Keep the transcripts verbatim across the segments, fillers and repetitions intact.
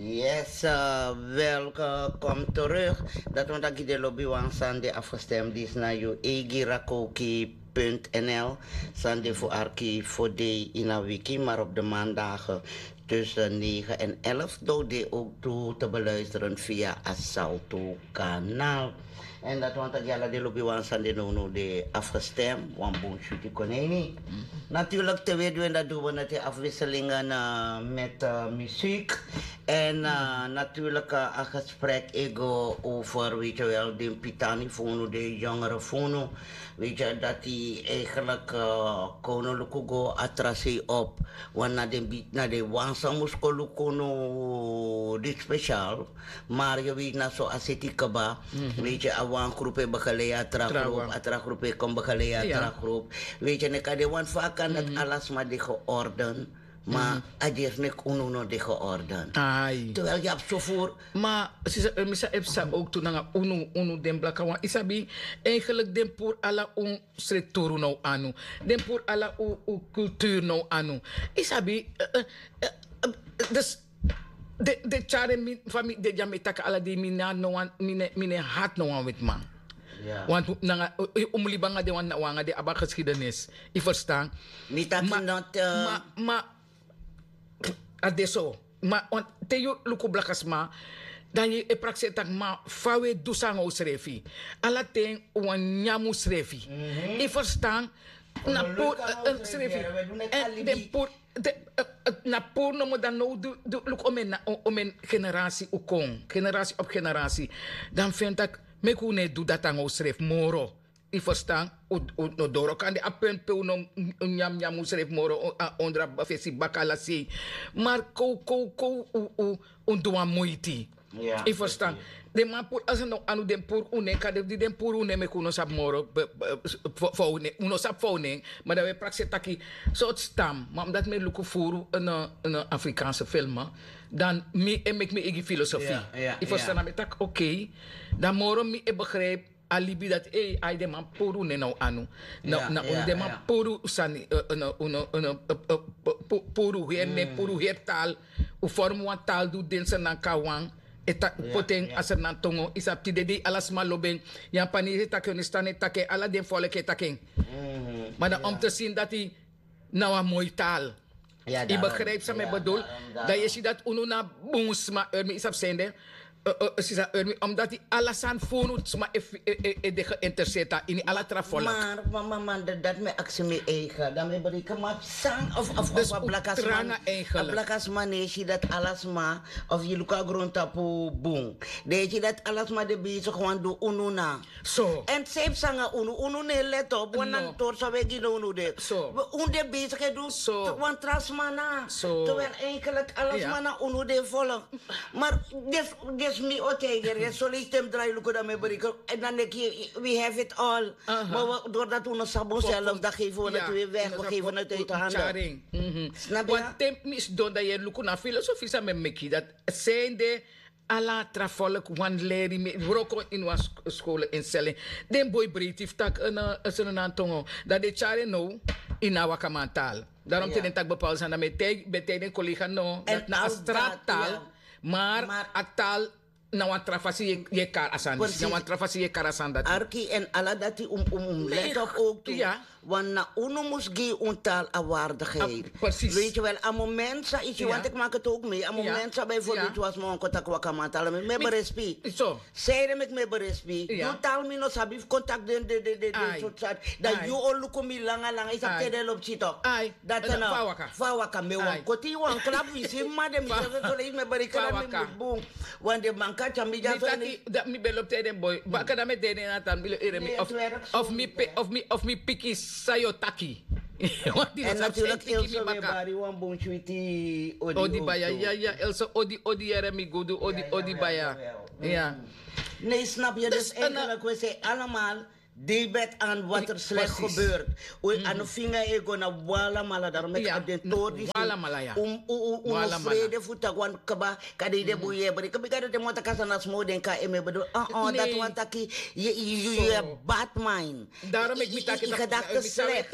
Yes, uh, welkom terug. Dat want aki de lobby wan Sunday afgestemd is naar uw eigi rakoki punt N L. Sunday voor arki voor day in een wiki, maar op de maandagen tussen negen en elf doet die ook toe te beluisteren via Asalto kanaal. En dat want aki ala de lobby wan Sunday no no de afgestemd, wan bon shuti koneni. Natuurlijk te weten dat doen we het in afwisselingen uh, met uh, muziek. En uh, natuurlijk uh, een gesprek ego over, weet je wel, de pitani funu, de jongere funu. Weet je, dat die eigenlijk uh, kono lukugo atrasi op. Want na de, na de wansa musko lukuno dit speciaal. Maar je weet na so aseti kaba. Weet je, a wan groep e begeleid a tra groep, a tra groep e kon begeleid a tra groep. Weet je, neka de wan vaak kan dat alles maar die georden. Maar a dierf nek unu no de georden. Terwijl je hebt zo voor. Maar sisa, eh, misa epsa ook toen nanga unu, unu den blakawan. Isabi, eigenlijk den pur ala un structuru no anu. Den pur ala u, u cultuur no anu. Isabi, eh, eh, eh, eh, dus de, de tjare mi, fami, de dya mi taki ala di mi na no wan, mi ne, mi ne hat no wan witman. Want nanga, eh, eh, umlibanga de wan, wanga de aba geschiedenis. I verstaan? Mi taki not, eh, ma, ma, a de so. Ma, want te yu luku blakasma, dan yu e prakseri taki ma fa we du sanga u srefi. Ala ten wan nyamu srefi. I verstaan? Na pur, eh, eh, srefi. En den pur, de, eh, eh, na pur nomo dan no du, du, luku omen na, o-, omen generasi u kon. Generasi op generasi. Dan fen taki, meki u ne du dati anga u srefi moro. I verstaan? U, u no doro kan de a punt pe u no nyam nyam u srefi moro, a ondra fesi baka ala sei. Maar kou, kou, kou, u, u, un du wan moiti. I verstaan? Den man pur, als no anu den pur une, kan de, di den pur une meki u no sabi moro, be, be, fo, fo une, u no sabi fo une, maar dan we prakseri taki, soort stam, maar omdat mi luku furu een, een Afrikaanse film, dan mi e meki mi eigi filosofie. I verstaan? Dan mi taki, oké, dan moro mi e begrijp, a libi dati, ei, ai den man puru ne na u anu. Na, na unu den man puru sani, eh, eh, na unu, unu, eh, eh, pu-, puru heri ne, puru heri taal. U vorm wan taal du den Sernanka wan. E ta-, poti en a Sernantongo, i sabi tide dei ala sma lobi en. Yapanese e taki en, Stan e taki en, ala den volk e taki en. Maar dan om te zien dati na wan moi taal. I begrijp san mi bedoel. Dan yu e si dati unu na bun sma, Urmi, i sabi sende. Eh, eh, sisa Urmi, omdat i ala sani fu unu sma e, e, e, e de geïnteresseerd a ini ala tra volk. Maar, maar, maar, maar, dat, dat mi aksi mi eigen. Dan mi bereken maar san of, of, of a blakasma. A blakasma ne si dati ala sma, of yu luku a grondtapu bun. Dan yu si dati ala sma de bezig wan du unu na. So. En srefi sanga unu, unu ne let op, wan na tori san we gi na unu de. So. We, unu de bezig e du wan tra sma na. So. Terwijl eigenlijk ala sma na unu de volk. Maar dus, dus mi o tijger, dus zo lees hem draai luku dan mi bereken. En dan denk je, we have it all. Maar we, doordat we no sabi onszelf, dan geven we het weer weg, we geven het uit de handen. Snap je? Want te mi sidon dan yu e luku na filosofie san mi meki, dat sende ala tra volk wan leri mi wroko ini wan sk-, skole instelling. Den boi breiti fu taki, eh, na, eh, Sernantongo. Dan den tyari en now ini a wakamantaal. Daarom te den taki bepaalde sani, dan mi e taigi, mi e taigi den collega no, dati na a straattaal, maar a taal na wan tra fasi yu e, yu e kari a sani disi. Na wan tra fasi yu e kari a sani dati. Arki, en ala dati un, un, un let op ook tu. Want na unu mus gi un taal a waardigheid. Weet je wel, a moment san, i si, want ik maak het ook mee. A moment san bijvoorbeeld yu was mi wan kon taki wakamantaal, mi, mi e berespi. Sende meki mi e berespi. Yu taal mi no sabi fu kon taki den, den, den, den, den sort sani. Dan yu o luku mi langa langa, i sabi te den lobi si tok. Dati na fa waka. Fa waka, mi wan koti wan klap fu i si, ma den mi srefi so leisi mi e bereken mi mus bun. Want den man kan tyari mi dya so. Mi taki, mi ben lobi te den boi. Baka dan mi e de den na tan mi lo ere mi. Of, of mi pe, of mi, of mi piki san yu o taki. En natuurlijk Elsa, we bari wan bun switi odi. Odi baya, ya, ya, Elsa, odi, odi, yere mi gudu, odi, odi baya. Ja. Nee, snap je? Dus eigenlijk, we zijn allemaal David an wat er slecht gebeurt. We an finga ego na wala mala, daarom met abden tori disi. Wala mala ya. Un un un frede fu tak wan kaba. Kade ide bu ye bri kabi kade te mota kasa na smo den ka eme bedo. Ah ah dat wan taki. Ye ye ye bad mind. Daarom ik mi taki. Gedachte slecht.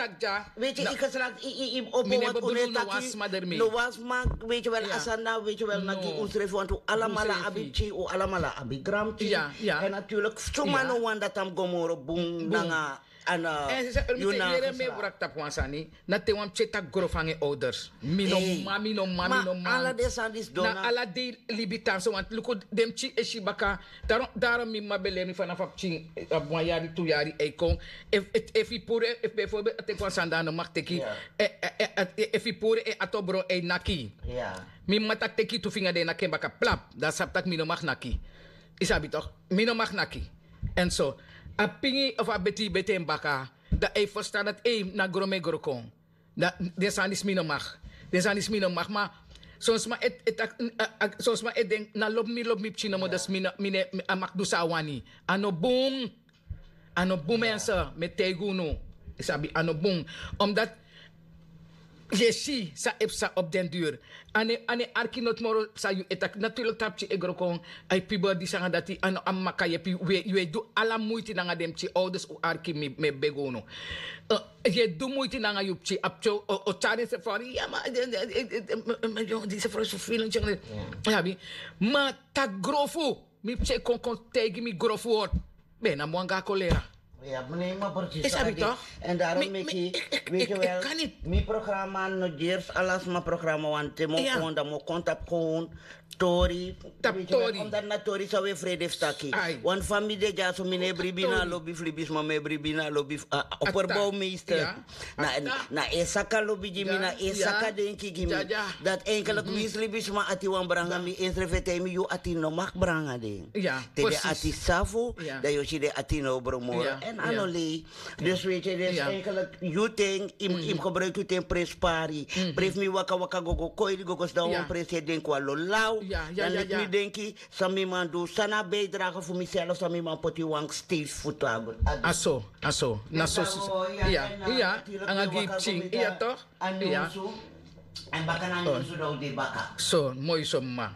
Weet je ik geslacht. Op wat un taki. No was maar weet je wel asana weet je wel naki un srefi want u alamala abi chi u alamala abi gram chi. En natuurlijk suma no wan dat am gomoro bun nanga. Ana yuna mi wrak tapu wan sani. Na te wan pikin taki grof hangi ouders. Mi no mami no mami no mami ala den sani disi dona. Na ala dei libi tan so want luku den pikin e si baka. Daarom daarom mi mama ben leri mi fanafu a pikin abi wan yari tu yari e kon. Efu i puru efu bijvoorbeeld a teki wan sani dan a no mag teki. Efu i puru e ato bron e naki. Mi mama taki teki tu finga den e naki en baka plap dan sabi tak' mi no mag naki. I sabi tok'? Mi no mag naki. En so a pingi of a beti beti en baka. Dan a e ferstan dati ei na gron mi e gron kon. Dan den sani disi mi no mag. Den sani disi mi no mag ma son sma e taki son sma e denki na lobi mi lobi mi pikin nomo dus mi no mi ne a mag du san a wani. A no bun. A no bun mense mi e taigi unu. I sabi a no bun. Omdat yu e si san e psa op den duru. A no e arki noti moro san yu e taki naturlik tapu pikin e gron kon. A e piber disi nanga dati a no a mama kan yepi yu e du ala muiti nanga den pikin ouders un arki mi e begi unu. Yu e du muiti nanga yu pikin a pikin o tyari en sefari ya ma disi frow so filen tyari. Abi ma taki grofu. Mi pikin kon kon taigi mi grofu word. Ben na mi wan go a kolera. Ya mi no e man precies. Sabi tok'? En daarom meki weet je wel mi programma no ders alasma programma want te mi o kon dan mi o kon tapu kon tori. Tapu tori omdat na tori san we frede fu taki. Want fa mi de dyaso mi no e bribi na lobi fu libisma mi e bribi na lobi fu operbouwmeester. Na e saka lobi gi mi na e saka denki gi mi. Dati enkelik winsi libisma ati wan branga mi ensrefi e taigi mi yu ati no mag branga den. Te den ati safu dan yu o si den ati no o bron moro èn a no lei. Dus weet yu dus enkelik yu ten yu mus gebruiki yu ten prenspari. Prefi mi waka waka go go koiri go go sidon wan prensi e denki wan lo law. Dan leki mi denki san mi man du san na a bijdrage fu miself san mi man poti wan steisi fu tagu. A so a so na so. Iya iya. Nanga gi yu pikin iya tok'? A nyunsu. Èn baka na nyunsu dan un de baka. So moi so mama.